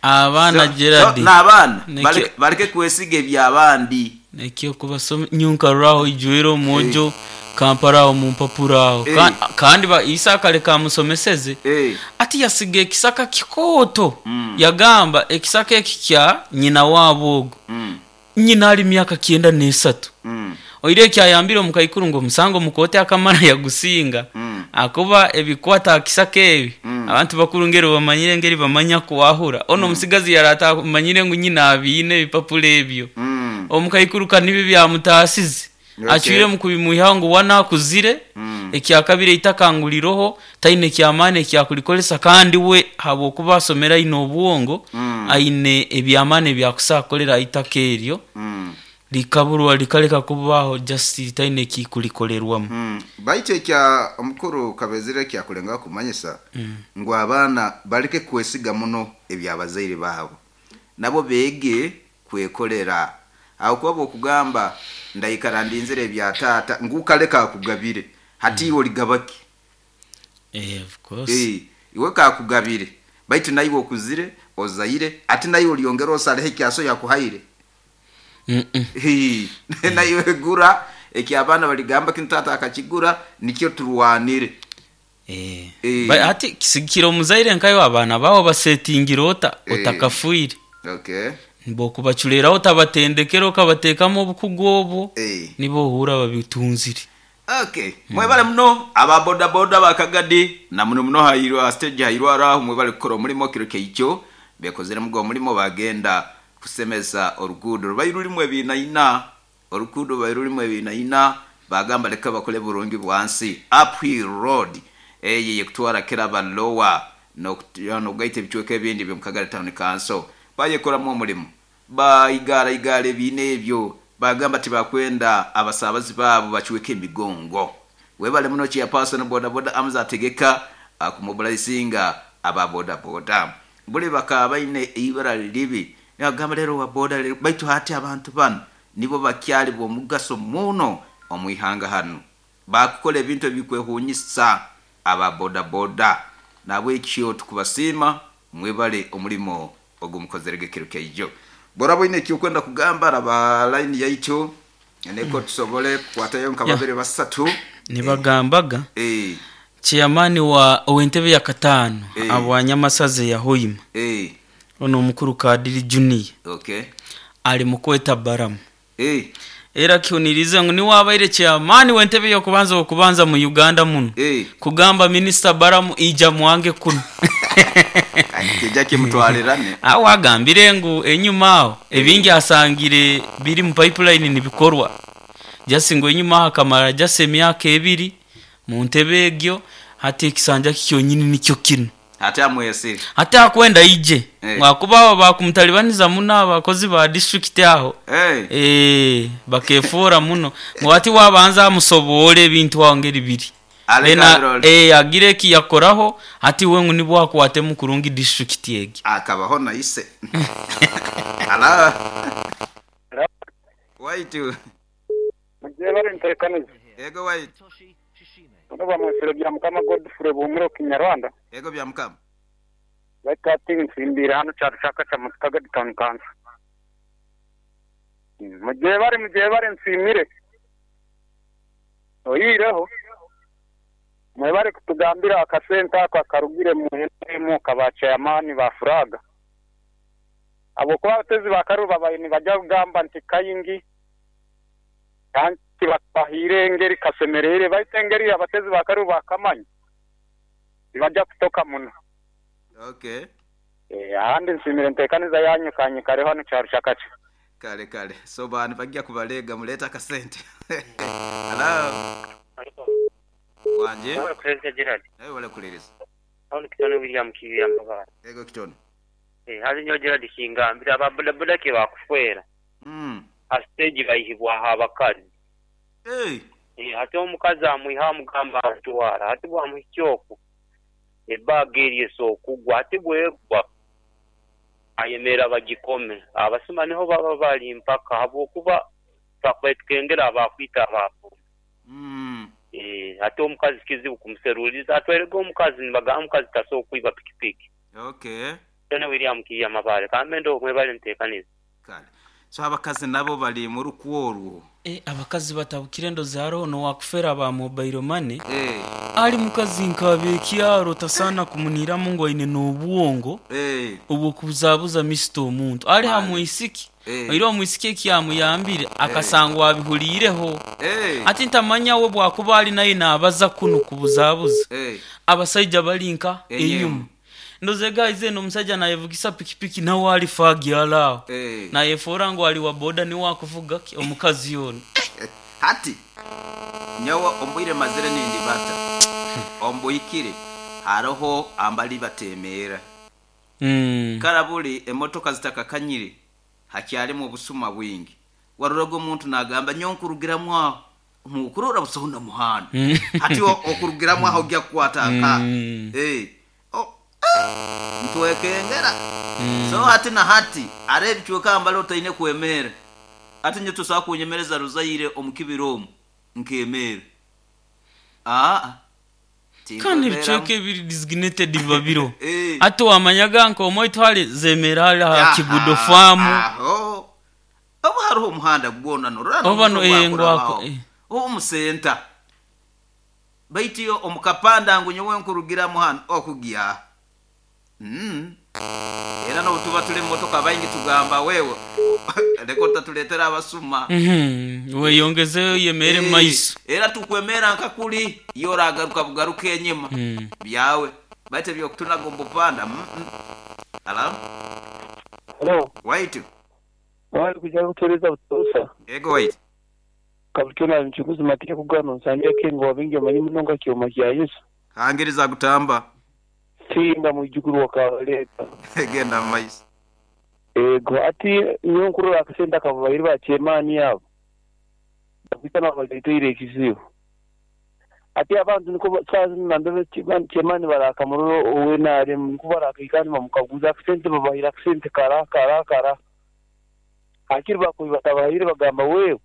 Abaana So- Gerard so, n'abaana Nekyo- baleke- baleke kwesiga ebyabandi. Nekyo kubasoma nyunka raho ijwero omujo Kampala aho mu mpapura aho. Eh. Ka- kandi ba Isa kale kamusomeseze Eh. ati yasiga ekisaka kikooto. Mm. Yagamba ekisaka eki kya nyina waabo ogo. Mm. Nyina ali myaka kyenda n'esatu. Mm. Oire ekyayambire omukaikuru ngo omusango mukote akamara yagusinga. Mm. Akuba ebikwata akisaka ebi. Mm. Abantu bakuru ngeri bamanyire ngeri bamanya kuwahura. Ono mm. Omusigazi yarata manyire ngu nyina abiine ebipapula ebyo. Mm. Omukaikuru kanibi byamutasize. Okay. Achwire mu kubimuha ngu wana akuzire. Mm. Ekyakabire itakanguliroho taine kyamane ekyakulikolesa kandi we habwokuba asomera ino obwongo. Mm. Aine ebyamane byakusakolera itaka eryo. Mm. Likaburwa likaleka kubaho just taine kikulikolerwamu. Mm. Baitu ekya omukuru Kabezire kyakulenga kumanyisa mm. ngu abaana baleke kwesiga muno ebyabazaire baabo nabo beege kwekolera. Aho kuba bwokugamba ndaikara ndinzire ebya taata ngukaleka akugabire hati iwe oligabaki. Eh, of course. Eh, iwe kakugabire baitu naiwe okuzire ozaire ati naiwe olyongera osaleho ekyaso yakuhaire. Mm -mm. Hii, naiwe gura ekyabaana baligamba kinu taata akakigura nikyo turwanire. Eh. Eh. Ba, ati kisigikira omuzaire nkayo abaana bawo basetingira ota Eh. otakafuire. Okay. Bokubachulera otabatendekera okabateekamu obukugu obwo. Eh. Nibo ohura babitunzire. Okay. Mwebale muno aba boda boda bakagadi na muno muno hairwa stage hairwa araho mwebale kukora omulimo kiro keikyo bekozere mugo omulimo bagenda kusemeza oruguudo rubayi rulimu ebinaina oruguudo rubayi rulimu ebinaina bagamba leka bakole burungi bwansi uphill road eye yekutwara kiraba lower nokugaita ebicweka ebindi by'omu Town Council bayekoramu omulimu baigara igara ebiina ebyo bagamba tibakwenda abasabazi baabo bacweka emigongo. Webale muno chairperson boda boda Amza ategeka akumobilizinga aba boda boda buli bakaba baine ibara libi nagamba lero wa boda lero baitu hati abantu bano nibo bakyali b'omugaso muno omwihanga hano bakukola ebintu ebikwehunyisa aba boda boda nabwekyo tukubasiima mwebale omulimo ogumukozerege kiro keijo. Bora bwine ekyokwenda kugamba raba line yaitu neko tusobole kukwatayo nka babiri basatu. Nibagambaga eh chairman wa owentebe ya katano Eh. abwanyamasaze ya Hoima. Eh. Ono omukuru Kadiri Junior. Okay. Ali mukweta baramu. Eh. Era kyonirize ngu niwabaire chairman wentebe yokubanza okubanza mu Uganda muno. Eh. Kugamba minister Baramu ija mwange kuno. Kijja kimutwalirane. Awo agambire ngu enyuma aho ebingi asangire biri mu pipeline nibikorwa. Just ngo enyuma aho akamara just emyaka ebiri mu ntebe egyo hati ekisanja kyonyini nikyo kino. Hati amwesire. Hati akwenda ije. Eh. Mwakuba abo bakumtalibaniza muno abakozi ba district aho. Eh. Eh, bakefora muno. Mwati wabanza amusobole ebintu aho ngeri biri. Aleka Ena, abirole. eh, agire ki yakoraho hati we ngu nibwo akwate mu kurungi district egi. Akabaho naise. Ala. Waitu. Mugiye bari ntekanije. Ego waitu. Tuno bamwesere bya Mukama Godfrey Bumuro Kinyarwanda. Ego bya Mukama. Baitati nsimbira hano cyarashaka cya Mutakaga Town Council. Mugiye bari mugiye bari nsimire. Oyireho. Mwebare kutugambira akasenta ako akarugire muhemu kaba chairman ba Furaga. Abo kwa batezi bakaruba bayini bajya kugamba nti kayingi kandi bakahire ngeri kasemerere baitengeri abatezi bakaruba kamanyi bajya kutoka muno. Okay. Eh, ahandi nsimire ntekaniza yanyu kanyi kare hano cyarushakaca. Kale kale. So bantu bajya kubalega muleta akasente. Hello. Wanje Wala kuleza Gerard. Nawe wala kuleza. Aho kitone William Kiriya Mbabara. Ego kitone. Eh hali nyo Gerard kingambira ababoda boda ke bakufwera. Mm. Asiteji bayihibwa abakazi. Eh. Eh ate omukazi amwiha amugamba atwara ate bwamuhikyoko. Ebaga eryeso okugwa ate bwegwa. Ayemera bagikome abasuma niho baba bali mpaka habwokuba bakwetukengera abakwita abapo. Mm. Eh ate omukazi kizibu kumuseruliza atwerega omukazi nibagamba omukazi tasobola kwiba pikipiki. Okay. Tena William Kiya Mabale kamendo mwebale ntekaniza. Kale. So abakazi nabo bali mu rukuorwo. Eh abakazi batabukire ndo zaro no wakufera ba mobile money. Eh ali mukazi nkabe kyaro tasana kumunira mungu aine n'obwongo. Eh obwo kuzabuza misto omuntu ali hamwisiki. Eh. Oiro omwisiki ekyamuyambire akasangwa abihulireho. Eh. Ati ntamanya we bwakuba ali naye nabaza kuno kubuzabuza. Eh. Abasajja balinka enyuma. Ndoze guys eno omusajja nayevugisa pikipiki nawe ali fagyala. Eh. Nayefora ngo ali wa boda ni wakuvuga omukazi yono. Hati nyawa ombwire mazire nindi bata. Ombuikire haroho ambali batemera. Mm. Karabuli emotoka zitakakanyire hakyali mu busuma bwingi. Warurogo omuntu nagamba nyonkurugiramwe aho. Mukurora busonda muhanda. Mm. Hati okurugiramwe aho ojja kukwata nka. Mm. Eh. Oh. Ntwekengera. Mm. So hati na hati arebichweka ambalo otaine kwemera. Ati nyo tusaba kunyemereza ruzaire omukibiromu nkemera. Ah. Kandi bichweka ebiri designated babiro. Eh. Ati wamanyaga nko omoitwale zemera ali ha Kigudo farm. Aho. Oba hariho omuhanda gwona norana. Oba no eh ngwako. Omusenta. Baitiyo omukapanda ngu nyowe nkurugira muhanda okugia. Mm. Era no tuba tuli motoka bayingi tugamba wewe. Leko tatuletera abasuma. Mhm. Weyongeze yemere Eh, maiso. Era tukwemera nkakuli yoragaruka bugaruka enyima. Mm. Byawe. Baite byo kutunaga ombupanda. Mm -mm. Hello? Hello. Wait. Wali kuja kutueleza utosa. Ego wait. Kabutuna mchukuzi matike kugano nsambia kengo wabingi amanyi munonga kyoma kya Yesu. Hangiriza kutamba. Simba mwijukuru wakaleta. Genda maiso. Ego ati nyonkuru akasenta kabairi ba chemani yabo. Bakitana baliteire ekizibu. Ati abantu niko sazi nandebe chemani barakamuroro owe nare niko barakikani bamukaguza akasente babahira akasente kara kara kara. Akiri bakubibatabahire bagamba wewe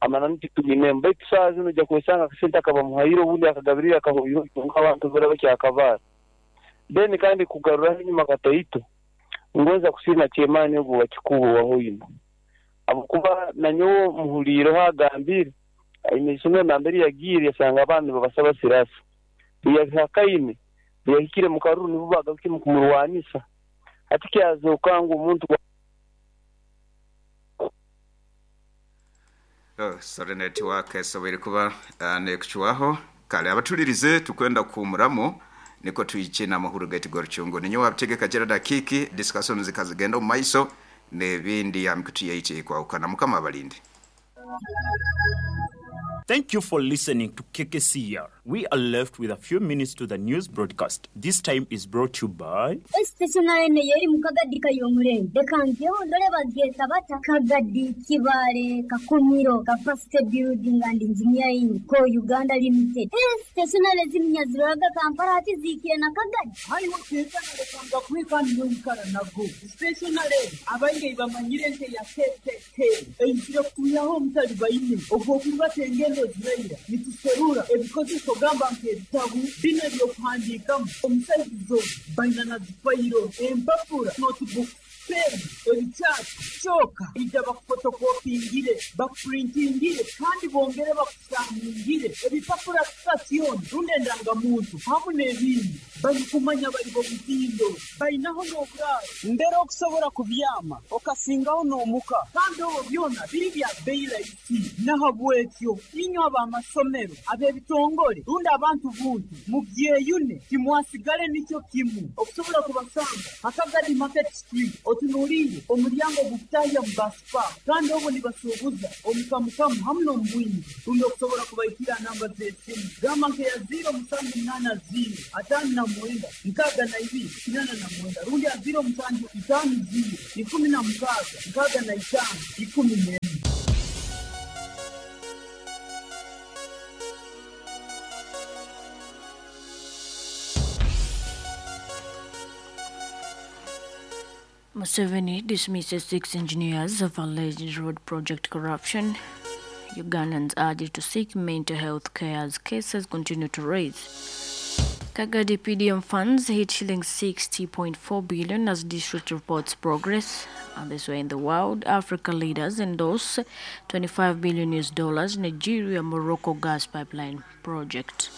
amanani titumine mbaitu sazi nujja kwesanga akasente akabamuhayiro ubundi akagabirira akahoyo abantu bara bakyakabara. Then kandi kugarura inyuma kataito ngoza kusina chemani ogo wakikubo wahoyino abukuba nanyo muhuliro hagambire aine namberi yagire yasanga abantu babasaba sirasa yahakaine yahikire mu karuru nibo bagaruke mu kumurwanisa ati kyazoka ngo umuntu Oh, sorry network sobere kuba uh, nekuchwaho kale abatulirize tukwenda kumuramo niko tuyiche na mahuru gati gorchungo ninyo wabitegeka Gerard Akiki discussion zikazigenda mu maiso nebindi ya mikutu yaite kwa ukana mukama abalinde. Thank you for listening to K K C R. We are left with a few minutes to the news broadcast. This time is brought to you by Stationary yeri mukagadi kayomurenge. Dekangyeho ndole bageta bata Kagadi Kibale Kakumiro Capacity Building and Engineering Co Uganda Limited. Stationary zimnyaziraga Kampala ati zikire na Kagadi. Haiwo teza ndekanga kwikandi n'omukara nago. Stationary abainge bamanyire nte ya K K K. Eyisire kuyaho omutali bayine ogwo kubatengendo ziraira nituserura ebikozeso gamba nk'ebitabu bino ebyokuhandiikamu omusaizizo baina na zifayiro empapura notebook pen ebikyapa kyoka ija bakufotokopingire bakupurintingire kandi bongere bakusamungire ebipapura sitasioni rundi endangamuntu hamu n'ebindi balikumanya bali bomutindo balinaho n'oburaaro mbere okusobola kubyama okasingaho n'omuka kandi obwo byona biri bya bbeeyi rahisi nahabwekyo inywe ab'amasomero ab'ebitongole rundi abantu buntu mubyeyune timwasigale nikyo kimu okusobola kubasanga Akagadi Market Street otunuulire Otunuulire omulyango gukutahya mu basipa kandi obwo nibasuubuza omukamukamu hamu n'omubwingi. Rundi okusobola kubaikira namba z'esimu gamba nkeya ziro musanju munaana ziro ataano na mwenda nkaaga na ibiri kinaana na mwenda rundi ya ziro musanju itaano ziro ikumi na mukaaga nkaaga na itaano ikumi n'emwe. Museveni dismisses six engineers of alleged road project corruption. Ugandans urged to seek mental health care as cases continue to rise. Kagadi P D M funds hit shilling sixty point four billion as district reports progress. And this way in the world, Africa leaders endorse twenty-five billion U S dollars Nigeria Morocco gas pipeline project.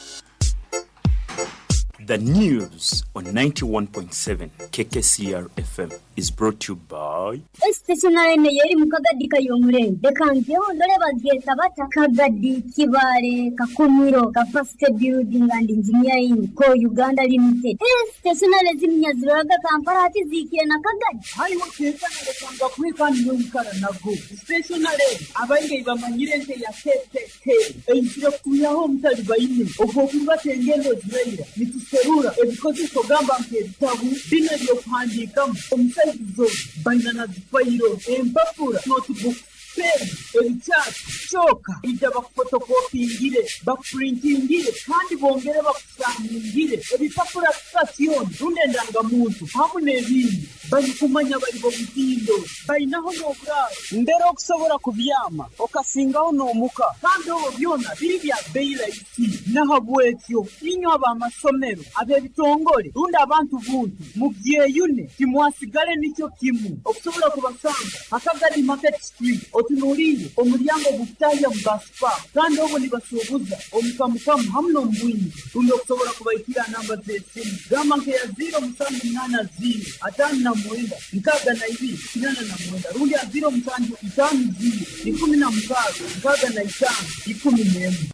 The news on ninety-one point seven K K C R F M is brought to you by Stationary yeri mukagadi kayomurenge dekangeho ndore bagyeta bata Kagadi Kibale Kakumiro Capacity Building and Engineering Co Uganda Limited. Stationary zimnyaziraga Kampala ati zikire na Kagadi hariho tekana lekanga kwikani yomukara nago stationary abainge bamanyire nte ya K K K eyisire kuyaho omutali bayine ogwo kubata engendo zirayira nituserura ebikozeso gamba nk'ebitabu bino ebyokuhandiikamu omusaizo baina na zifayiro empapura notebook pen ebikyasi kyoka ijja bakufotokopingire bakupurintingire kandi bongere bakusaaningire ebipapura sitasiyooni rundi endangamuntu hamu n'ebindi balikumanya bali b'omutindo balinaho n'oburaaro mbere okusobola kubyama okasingaho n'omuka kandi obwo byona biri bya bbeeyi rahisi. Nahabwekyo inywe ab'amasomero ab'ebitongole rundi abantu buntu mubyeyune timwasigale nikyo kimu okusobola kubasanga Akagadi Market Street otunuulire omulyango gukutahya mu basipa kandi obwo nibasuubuza omukamukamu hamu n'omubwingi. Rundi okusobola kubaikira namba z'esimu gamba nkeya ziro musanju munaana ziro ataano na mwenda nkaaga na ibiri kinaana na mwenda rundi ya ziro musanju itaano ziro ikumi na mukaaga nkaaga na itaano ikumi n'emwe.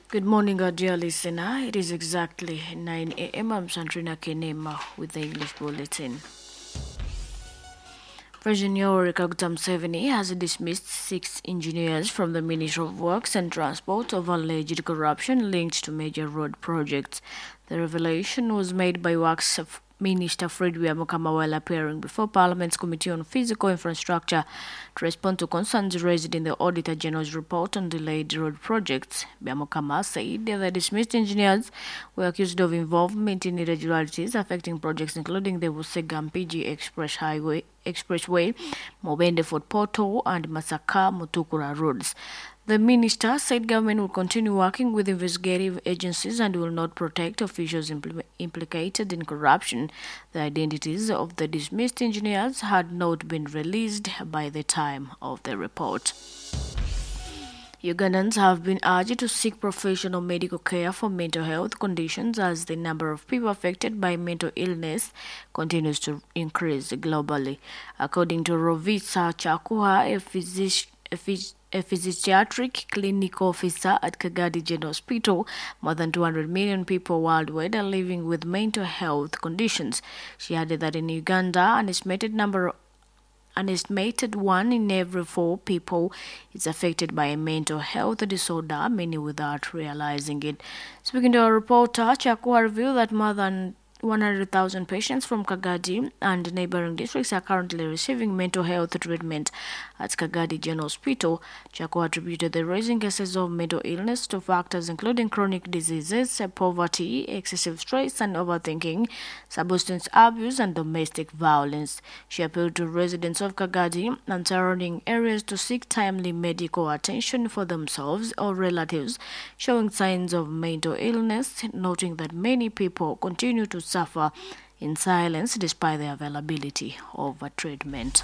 Good morning, our dear listener. It is exactly nine a m. I'm Sandrina Kenema with the English Bulletin. President Yoweri Kaguta Museveni has dismissed six engineers from the Ministry of Works and Transport over alleged corruption linked to major road projects. The revelation was made by Works Minister Fred Byamukama while appearing before Parliament's Committee on Physical Infrastructure to respond to concerns raised in the Auditor General's report on delayed road projects. Byamukama said the dismissed engineers were accused of involvement in irregularities affecting projects including the Busega Mpigi Express Highway, Expressway, Mubende Fort Portal, and Masaka Mutukura roads. The minister said government will continue working with investigative agencies and will not protect officials impl- implicated in corruption. The identities of the dismissed engineers had not been released by the time of the report. Ugandans have been urged to seek professional medical care for mental health conditions as the number of people affected by mental illness continues to increase globally. According to Rovisa Chakuha, a physician, a phys- a physiatric clinic officer at Kagadi General Hospital, more than two hundred million people worldwide are living with mental health conditions. She added that in Uganda, an estimated number An estimated one in every four people is affected by a mental health disorder, many without realizing it. Speaking to our reporter, Chakua revealed that more than one hundred thousand patients from Kagadi and neighboring districts are currently receiving mental health treatment at Kagadi General Hospital. Chakua attributed the rising cases of mental illness to factors including chronic diseases, poverty, excessive stress and overthinking, substance abuse and domestic violence. She appealed to residents of Kagadi and surrounding areas to seek timely medical attention for themselves or relatives showing signs of mental illness, noting that many people continue to suffer in silence despite the availability of a treatment.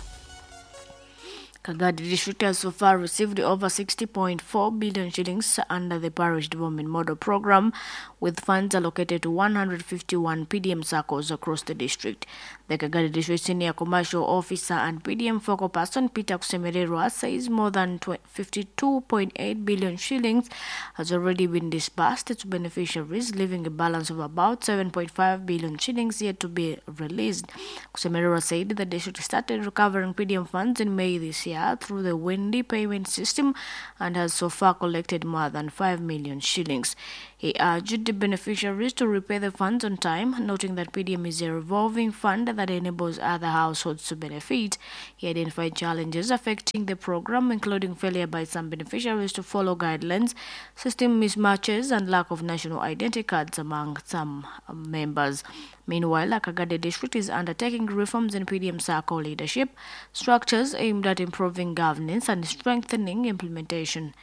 Kagadi District has so far received over sixty point four billion shillings under the Parish Development Model Program, with funds allocated to one hundred fifty-one P D M SACCOs across the district. The Kagadi District Senior Commercial Officer and P D M focal person Peter Kusemererwa says more than fifty-two point eight billion shillings has already been disbursed to beneficiaries, leaving a balance of about seven point five billion shillings yet to be released. Kusemererwa said the district started recovering P D M funds in May this year through the Wendy payment system and has so far collected more than five million shillings. He urged the beneficiaries to repay the funds on time, noting that P D M is a revolving fund that enables other households to benefit. He identified challenges affecting the program, including failure by some beneficiaries to follow guidelines, system mismatches, and lack of national identity cards among some members. Meanwhile, Kagadi District is undertaking reforms in P D M SACCO leadership structures aimed at improving governance and strengthening implementation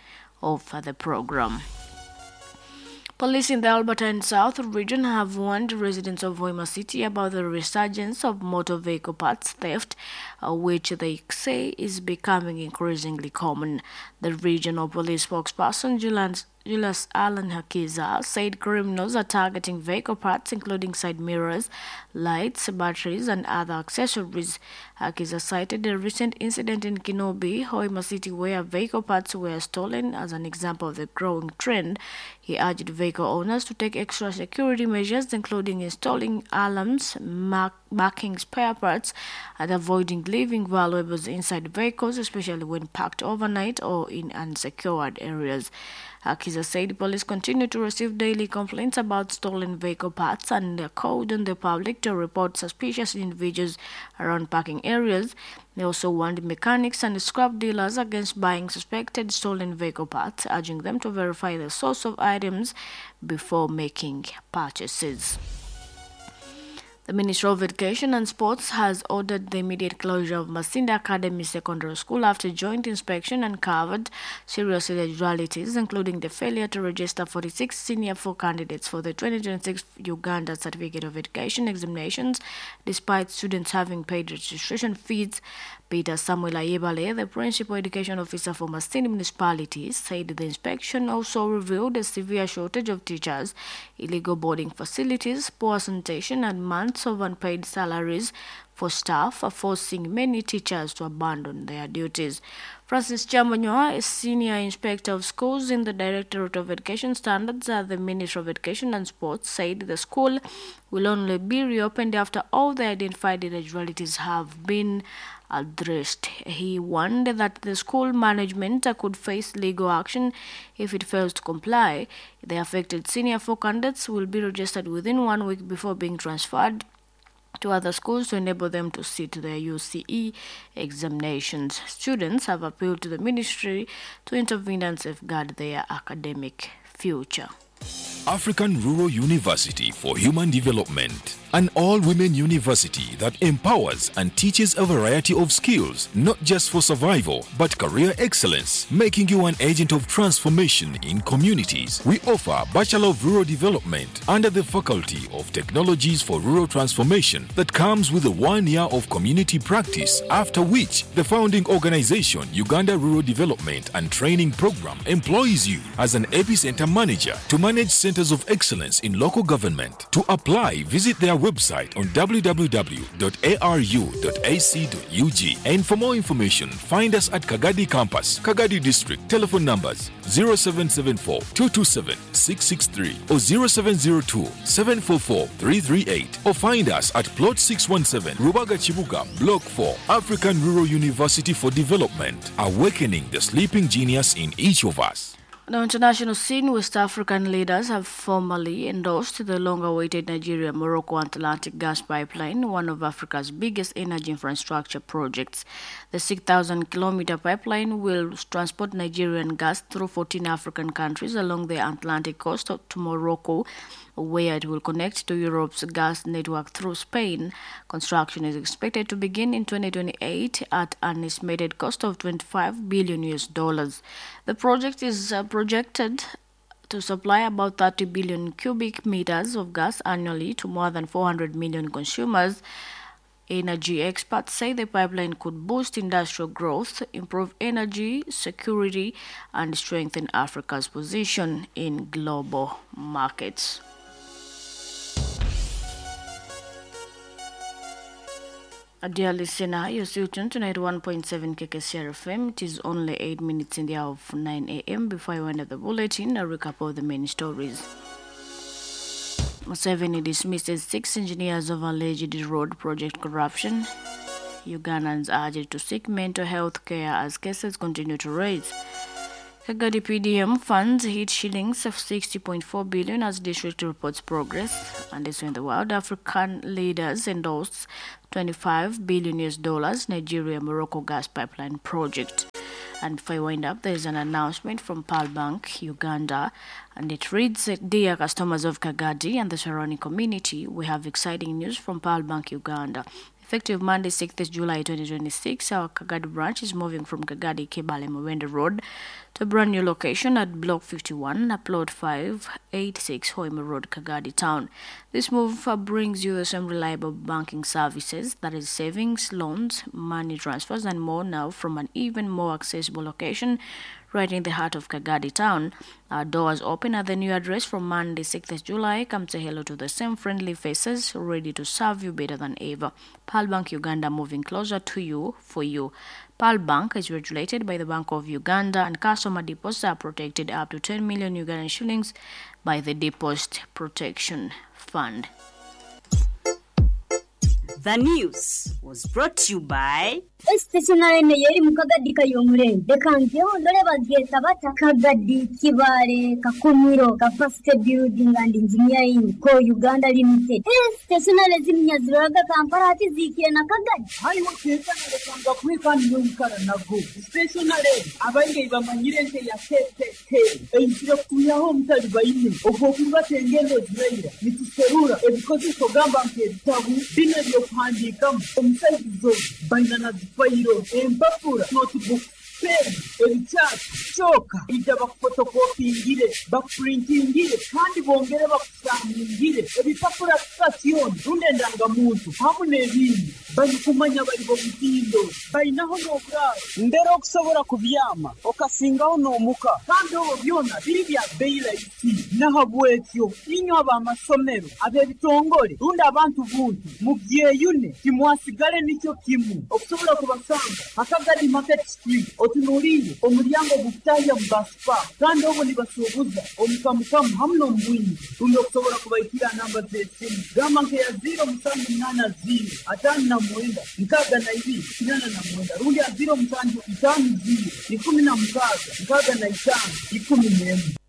of the program. Police in the Albertine South region have warned residents of Hoima City about the resurgence of motor vehicle parts theft, uh, which they say is becoming increasingly common. The regional police spokesperson, Julian Julius Alan Hakiza, said criminals are targeting vehicle parts including side mirrors, lights, batteries, and other accessories. Hakiza cited a recent incident in Kinobi, Hoima City, where vehicle parts were stolen as an example of the growing trend. He urged vehicle owners to take extra security measures, including installing alarms, mark marking spare parts, and avoiding leaving valuables inside vehicles, especially when parked overnight or in unsecured areas. Hakiza said police continue to receive daily complaints about stolen vehicle parts and called on the public to report suspicious individuals around parking areas. They also warned mechanics and scrap dealers against buying suspected stolen vehicle parts, urging them to verify the source of items before making purchases. The Ministry of Education and Sports has ordered the immediate closure of Masindi Academy Secondary School after joint inspection uncovered serious irregularities, including the failure to register forty-six senior four candidates for the twenty twenty-six Uganda Certificate of Education examinations, despite students having paid registration fees. Peter Samuel Ayebale, the principal education officer for Masindi Municipality, said the inspection also revealed a severe shortage of teachers, illegal boarding facilities, poor sanitation, and months of unpaid salaries for staff, forcing many teachers to abandon their duties. Francis Chamanyoa, a senior inspector of schools in the Directorate of Education Standards at the Ministry of Education and Sports, said the school will only be reopened after all the identified irregularities have been addressed. He warned that the school management could face legal action if it fails to comply. The affected senior four candidates will be registered within one week before being transferred to other schools to enable them to sit their U C E examinations. Students have appealed to the ministry to intervene and safeguard their academic future. African Rural University for Human Development, an all-women university that empowers and teaches a variety of skills, not just for survival, but career excellence, making you an agent of transformation in communities. We offer Bachelor of Rural Development under the Faculty of Technologies for Rural Transformation that comes with a one year of community practice, after which the founding organization, Uganda Rural Development and Training Program, employs you as an epicenter manager to manage centers of excellence in local government. To apply, visit their website on w w w dot a r u dot a c dot u g. And for more information, find us at Kagadi Campus, Kagadi District. Telephone numbers zero seven seven four, two two seven, six six three or zero seven zero two, seven four four, three three eight, or find us at Plot six one seven, Rubaga Chibuga, Block four, African Rural University for Development, awakening the sleeping genius in each of us. The international scene, West African leaders have formally endorsed the long-awaited Nigeria-Morocco Atlantic gas pipeline, one of Africa's biggest energy infrastructure projects. The six thousand kilometer pipeline will transport Nigerian gas through fourteen African countries along the Atlantic coast to Morocco, where it will connect to Europe's gas network through Spain. Construction is expected to begin in twenty twenty-eight at an estimated cost of twenty-five billion U S dollars. The project is uh, projected to supply about thirty billion cubic meters of gas annually to more than four hundred million consumers Energy experts say the pipeline could boost industrial growth, improve energy security, and strengthen Africa's position in global markets. Dear listener, you're still tuned to ninety-one point seven K K C R F M. It is only eight minutes in the hour of nine A M. Before I end the bulletin, a recap of the main stories. Museveni dismisses six engineers of alleged road project corruption. Ugandans urged to seek mental health care as cases continue to rise. Kagadi P D M funds hit shillings of sixty point four billion as district reports progress. And this in the world, African leaders endorsed twenty-five billion U S dollars Nigeria-Morocco gas pipeline project. And before I wind up, there is an announcement from Pearl Bank, Uganda, and it reads, Dear customers of Kagadi and the surrounding community, we have exciting news from Pearl Bank, Uganda. Effective Monday, sixth of July twenty twenty-six, our Kagadi branch is moving from Kagadi Kibale Mawende Road to a brand new location at Block fifty-one, Plot five eighty-six, Hoima Road, Kagadi Town. This move brings you the same reliable banking services, that is savings, loans, money transfers, and more now from an even more accessible location right in the heart of Kagadi Town. Our doors open at the new address from Monday, sixth of July. Come say hello to the same friendly faces, ready to serve you better than ever. Pearl Bank Uganda, moving closer to you, for you. Pearl Bank is regulated by the Bank of Uganda, and customer deposits are protected up to ten million Ugandan shillings by the Deposit Protection Fund. The news was brought to you by Stationary yeri mukagadi kayomurembe dekangeho ndore bageta bata Kagadi Kibale Kakumiro Capacity Building and Engineering Co Uganda Limited. Stationary zimnyaziraga Kampala ati zikire na Kagadi hariwo tekana lekanga kwikani n'oyikara nago stationary abainge bamanyire nte ya K K K eisire kuyaho omutali baine ogwokuba engendo ziraira nituserura ebikozeso gamba nk'ebitabu bino ebyokuhandiikamu omusaizizo baina na fayiro empapura notebook pen ebikyapa kyoka ijja bakufotokopingire bakupurintingire kandi bongere bakusaaningire ebipapura sitasioni rundi endangamuntu hamu n'ebindi balikumanya bali bomutindo balinaho n'oburaaro mbere okusobola kubyama okasingaho n'omuka kandi obwo byona biri bya bbeeyi rahisi nahabwekyo inywe ab'amasomero ab'ebitongole rundi abantu buntu mubyeyune timwasigale nikyo kimu okusobola kubasanga Akagadi Market Street otunuulire omulyango gukutahya mu basipa kandi obwo nibasuubuza omukamukamu hamu n'omubwingi rundi okusobola kubaikira namba z'esimu gamba nkeya ziro musanju munaana ziro ataano na mwenda nkaaga na ibiri kinaana na mwenda rundi ya ziro musanju itaano ziro ikumi na mukaaga nkaaga na itaano ikumi n'emwe.